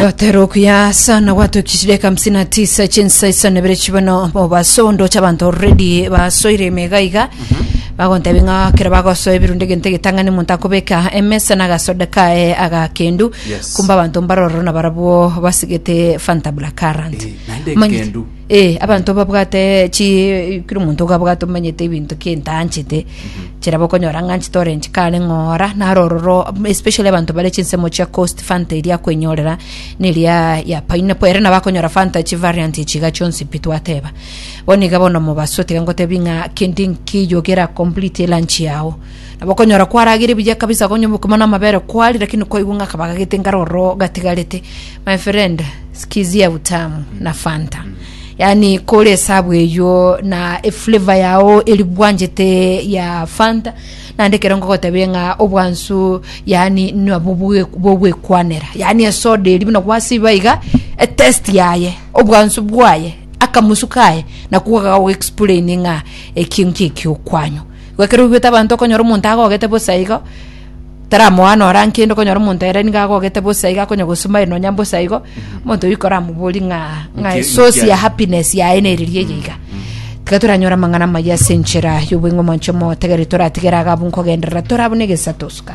Gotera okuya sana gwatokishire 59 chinsa isano ibere chibono mobaso ndoche abanto already basoire emega iga bagontebi ng'a kero bagosoa ebirundo egento egetang'ani omonto akobeka emesa na agasoda kaye agakendu Yes. kumbe abanto mbarororo na barabwo basigete Fanta Black Currant Eh, naende Omanyete- ekendu. Eh, abanto babwate chi kera omonto gabwate omanyete ebinto ki ntanchete chera bokonyora ng'a nchete orange kare ng'ora naro ororo especially abanto bare chinsemo chia coast fanta eria akwenyorera neria ya pineapple ere nabo akonyora fanta chi variant echi iga chionsi pi twateba. Bono iga bono omobaso tiga ngotebi ng'a kende nkeiyo kera complete elunch yago. Nabo okonyora kwarageire buya kabisa konya obokima na amabere kwaria lakini kwaigwa ng'a akabaga gete nkare ororo gatigarete. My friend, sikizia utamu na fanta. Yaani kore esabu eywo na eflavor yao eri bwanchete ya fanta naende ekero nkogotebia ng'a obwansu yaani nabwo bwe- bogwekwanera yaani esoda eria buna gwasiba iga etest yaye obwansu bwaye akamusu kaye nakwo gagoexplain ng'a ekio nki ekiokwanyu. Igo ekero oigwete abanto okonyora omonto agogete bosa igo. Taramoa nora nkende okonyora omonto ere nigo agogete bosa iga akonya gosuma nonya mbosa igo, omonto oyio koramoborie ng'a ng'a Nki- esource nki ya aye? happiness yaye neriria eye iga. Tiga toranyore amang'ana amaya ase enchera y'obweng'u omonche omotegereri toratigere iga abwo nkogenderera tore abwo na egesato suka.